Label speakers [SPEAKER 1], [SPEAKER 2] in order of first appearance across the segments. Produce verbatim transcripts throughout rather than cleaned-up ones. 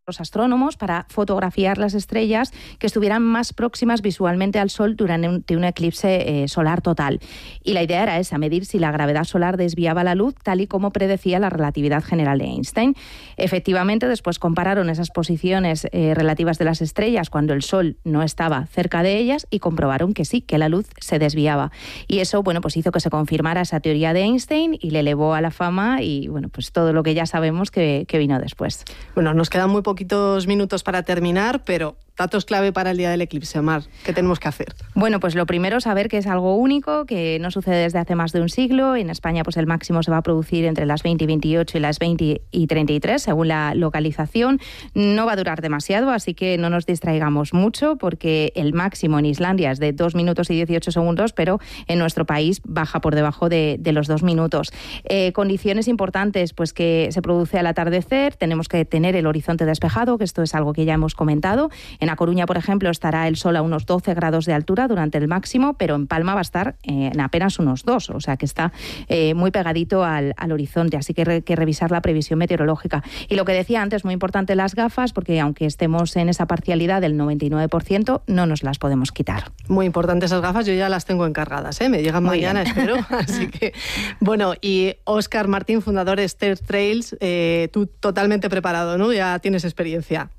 [SPEAKER 1] los astrónomos para fotografiar las estrellas que estuvieran más próximas visualmente al Sol durante un eclipse eh, solar total. Y la idea era esa, medir si la gravedad solar desviaba la luz, tal y como predecía la relatividad general de Einstein. Efectivamente, después compararon esas posiciones eh, relativas de las estrellas cuando el Sol no estaba cerca de ellas y comprobaron que sí, que la luz se desviaba. Y eso, bueno, pues hizo que se confirmara esa teoría de Einstein y le elevó a la fama y, bueno, pues todo lo que ya sabemos que, que vino después.
[SPEAKER 2] Bueno, nos quedan muy poquitos minutos para terminar, pero datos clave para el día del eclipse, Mar. ¿Qué tenemos que hacer?
[SPEAKER 1] Bueno, pues lo primero, saber que es algo único, que no sucede desde hace más de un siglo. En España, pues el máximo se va a producir entre las veinte y veintiocho y las veinte y treinta y tres, según la localización. No va a durar demasiado, así que no nos distraigamos mucho, porque el máximo en Islandia es de dos minutos y dieciocho segundos, pero en nuestro país baja por debajo de, de los dos minutos. Eh, condiciones importantes, pues que se produce al atardecer, tenemos que tener el horizonte despejado, que esto es algo que ya hemos comentado. En A Coruña, por ejemplo, estará el sol a unos doce grados de altura durante el máximo, pero en Palma va a estar eh, en apenas unos dos, o sea que está eh, muy pegadito al, al horizonte, así que hay que revisar la previsión meteorológica. Y lo que decía antes, muy importante las gafas, porque aunque estemos en esa parcialidad del noventa y nueve por ciento, no nos las podemos quitar.
[SPEAKER 2] Muy importante esas gafas, yo ya las tengo encargadas, ¿eh? Me llegan muy mañana, bien. Espero. Así que, bueno, y Óscar Martín, fundador de Stairs Trails, eh, tú totalmente preparado, ¿no? Ya tienes experiencia.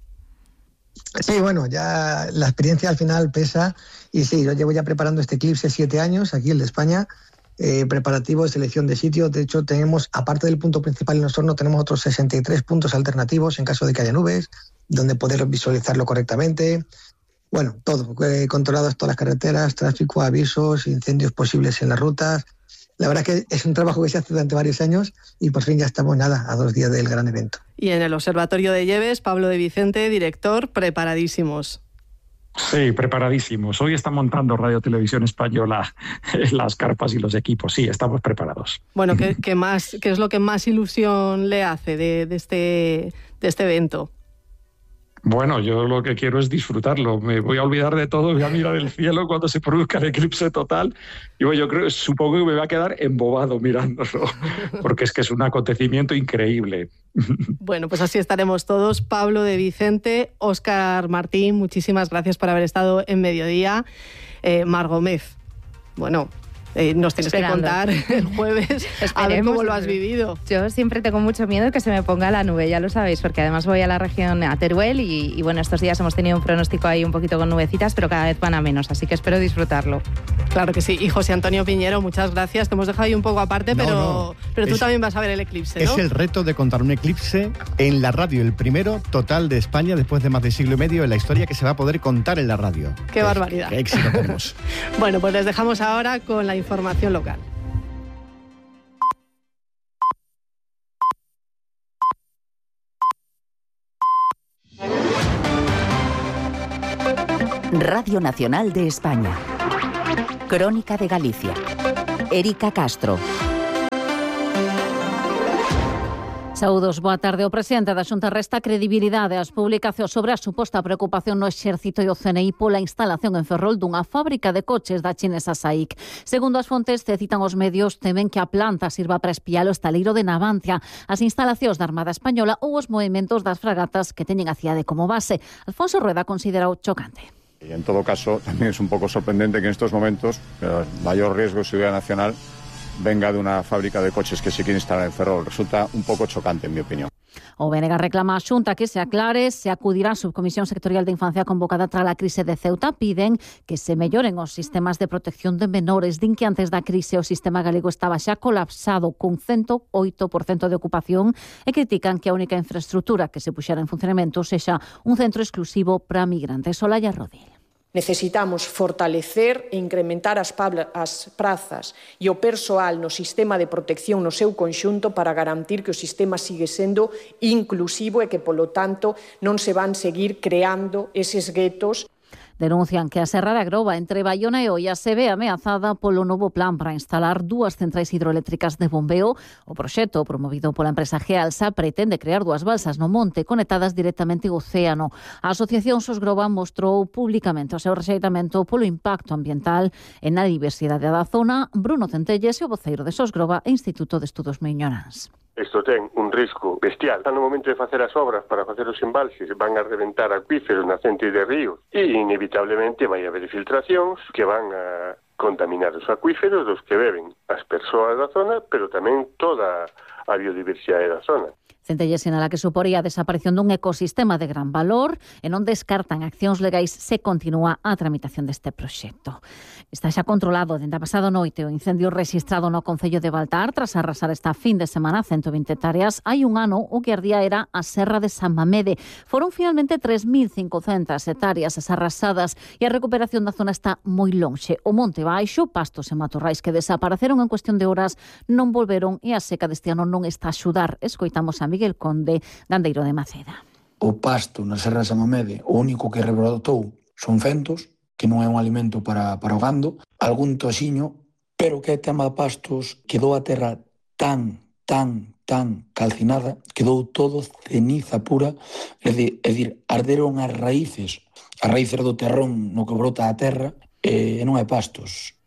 [SPEAKER 3] Sí, bueno, ya la experiencia al final pesa y sí, yo llevo ya preparando este eclipse siete años, aquí el de España, eh, preparativo de selección de sitios. De hecho, tenemos, aparte del punto principal en Osorno, tenemos otros sesenta y tres puntos alternativos en caso de que haya nubes, donde poder visualizarlo correctamente. Bueno, todo, eh, controlados todas las carreteras, tráfico, avisos, incendios posibles en las rutas. La verdad es que es un trabajo que se hace durante varios años y por fin ya estamos, nada, a dos días del gran evento.
[SPEAKER 2] Y en el Observatorio de Lleves, Pablo de Vicente, director, preparadísimos.
[SPEAKER 4] Sí, preparadísimos. Hoy está montando Radio Televisión Española las carpas y los equipos. Sí, estamos preparados.
[SPEAKER 2] Bueno, ¿qué, qué, más, qué es lo que más ilusión le hace de, de, este, de este evento?
[SPEAKER 4] Bueno, yo lo que quiero es disfrutarlo. Me voy a olvidar de todo, voy a mirar el cielo cuando se produzca el eclipse total. Y bueno, yo creo, supongo que me va a quedar embobado mirándolo, porque es que es un acontecimiento increíble.
[SPEAKER 2] Bueno, pues así estaremos todos. Pablo de Vicente, Óscar Martín, muchísimas gracias por haber estado en Mediodía. Eh, Mar Gómez, bueno... Eh, nos tienes Esperando. que contar el jueves a ver cómo lo has vivido.
[SPEAKER 1] Yo siempre tengo mucho miedo de que se me ponga la nube, ya lo sabéis, porque además voy a la región, a Teruel, y, y bueno, estos días hemos tenido un pronóstico ahí un poquito con nubecitas, pero cada vez van a menos, así que espero disfrutarlo.
[SPEAKER 2] Claro que sí. Y José Antonio Piñero, muchas gracias. Te hemos dejado ahí un poco aparte, no, pero, no. pero tú es, también vas a ver el eclipse, ¿no?
[SPEAKER 5] Es el reto de contar un eclipse en la radio, el primero total de España después de más de siglo y medio en la historia que se va a poder contar en la radio.
[SPEAKER 2] ¡Qué
[SPEAKER 5] qué
[SPEAKER 2] barbaridad!
[SPEAKER 5] ¡Qué éxito tenemos!
[SPEAKER 2] Bueno, pues les dejamos ahora con la información local.
[SPEAKER 6] Radio Nacional de España. Crónica de Galicia. Erika Castro.
[SPEAKER 7] Saúdos, boa tarde. O presidente da Xunta resta credibilidade ás publicacións sobre a suposta preocupación no Exército e o C N I pola instalación en Ferrol dunha fábrica de coches da chinesa SAIC. Segundo as fontes que citan os medios, temen que a planta sirva para espiar o estaleiro de Navantia, as instalacións da Armada Española ou os movimentos das fragatas que teñen a cidade como base. Alfonso Rueda considera o chocante.
[SPEAKER 8] Y en todo caso, también es un poco sorprendente que en estos momentos el mayor riesgo de seguridad nacional venga de una fábrica de coches que se quiere instalar en Ferrol. Resulta un poco chocante, en mi opinión.
[SPEAKER 7] O B N G reclama a Xunta que se aclare se acudirá a Subcomisión Sectorial de Infancia convocada tras a crise de Ceuta. Piden que se melloren os sistemas de protección de menores. Din que antes da crise o sistema galego estaba xa colapsado con ciento oito por ciento de ocupación e critican que a única infraestructura que se puxera en funcionamento sexa un centro exclusivo para migrantes. Olaya Rodil.
[SPEAKER 9] Necesitamos fortalecer e incrementar as, as prazas e o persoal no sistema de protección no seu conxunto para garantir que o sistema sigue sendo inclusivo e que, polo tanto, non se van seguir creando eses guetos.
[SPEAKER 7] Denuncian que a Serra de Agroba entre Baiona e Oia se ve ameazada polo novo plan para instalar dúas centrais hidroeléctricas de bombeo. O proxecto, promovido pola empresa Gealsa, pretende crear dúas balsas no monte conectadas directamente ao océano. A Asociación Sosgroba mostrou públicamente o seu rexeitamento polo impacto ambiental e na diversidade da zona. Bruno Centelles, o voceiro de Sosgroba e Instituto de Estudos Miñoráns.
[SPEAKER 10] Isto ten un risco bestial. No momento de facer as obras para facer os embalses van a reventar acuíferos nacentes de ríos e inevitablemente vai haber filtracións que van a contaminar os acuíferos dos que beben as persoas da zona, pero tamén toda a biodiversidade da zona.
[SPEAKER 7] Centelles sinala que suporía a desaparición dun ecosistema de gran valor e non descartan accións legais se continúa a tramitación deste proxecto. Está xa controlado dende a pasado noite o incendio rexistrado no Concello de Baltar tras arrasar esta fin de semana ciento vinte hectáreas. Hai un ano o que ardía era a Serra de San Mamede. Foron finalmente tres mil cincocentas hectáreas as arrasadas e a recuperación da zona está moi lonxe. O monte baixo, pastos e matorrais que desapareceron en cuestión de horas non volveron e a seca deste ano non está a axudar. Escoitamos a Miguel Conde, gandeiro de Maceda.
[SPEAKER 11] O pasto na Serra de San Mamede, o único que rebrotou son fentos, que non é un alimento para, para o gando, algún tosiño, pero que é tema de pastos, quedou a terra tan, tan, tan calcinada, quedou todo ceniza pura, é dicir, arderon as raíces, as raíces do terrón no que brota a terra, e non hai pastos.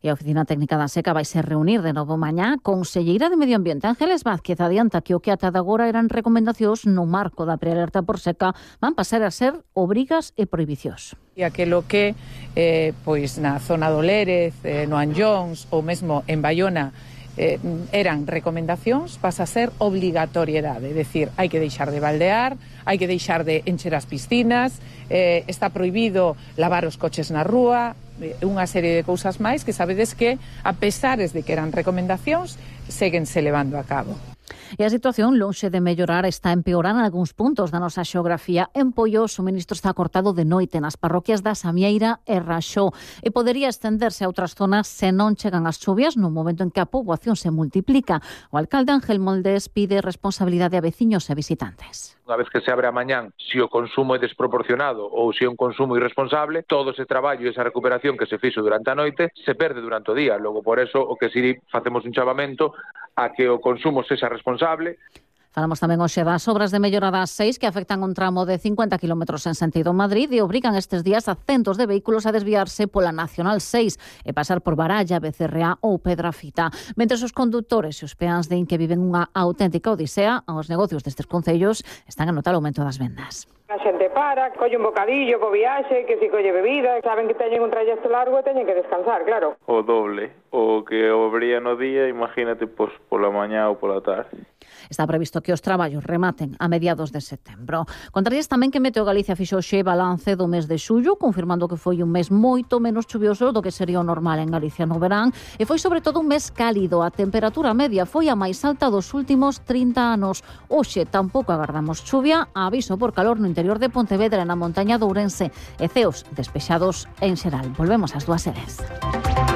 [SPEAKER 7] E a Oficina Técnica da Seca vai se reunir de novo mañá. Conselleira de Medio Ambiente Ángeles Vázquez adianta que o que ata agora eran recomendacións no marco da prealerta por seca van pasar a ser obrigas e prohibicións.
[SPEAKER 12] E aquilo que eh, pois na zona do Lérez, eh, no Anllóns ou mesmo en Baiona eh, eran recomendacións, pasa a ser obligatoriedade, é dicir, hai que deixar de baldear, hai que deixar de encher as piscinas, eh, está prohibido lavar os coches na rúa, unha serie de cousas máis que sabedes que, a pesares de que eran recomendacións, séguense levando a cabo.
[SPEAKER 7] E a situación, lonxe de mellorar, está a empeorar en algúns puntos da nosa xeografía. En Poio, o suministro está cortado de noite nas parroquias da Samieira e Raxó e podería estenderse a outras zonas se non chegan as chuvias no momento en que a poboación se multiplica. O alcalde Ángel Moldes pide responsabilidade a veciños e visitantes.
[SPEAKER 13] Unha vez que se abre a mañán, se o consumo é desproporcionado ou se é un consumo irresponsable, todo ese traballo e esa recuperación que se fixo durante a noite se perde durante o día. Logo, por eso, o que si facemos un chamamento a que o consumo sexa responsable.
[SPEAKER 7] Falamos tamén hoxe das obras de mellora das seis que afectan un tramo de cincuenta kilómetros en sentido Madrid e obrigan estes días a centos de vehículos a desviarse pola Nacional seis e pasar por Baralla, Becerrea ou Pedrafita. Mentres os condutores e os peáns din que viven unha auténtica odisea, os negocios destes concellos están a notar o aumento das vendas.
[SPEAKER 14] A xente para, colle un bocadillo po viaxe, que si colle bebida, saben que teñen un trayecto largo e teñen que descansar, claro.
[SPEAKER 15] O doble, o que obría no día, imagínate, pois pola mañá ou pola tarde.
[SPEAKER 7] Está previsto que os traballos rematen a mediados de setembro. Contarías tamén que Meteo Galicia fixo xe balance do mes de xullo, confirmando que foi un mes moito menos chuvioso do que sería o normal en Galicia no verán, e foi sobre todo un mes cálido. A temperatura media foi a máis alta dos últimos trinta anos. Hoxe tampouco agardamos chuvia, aviso por calor no interior de Pontevedra e na montaña de Ourense, e ceos despexados en xeral. Volvemos ás dúas e dez.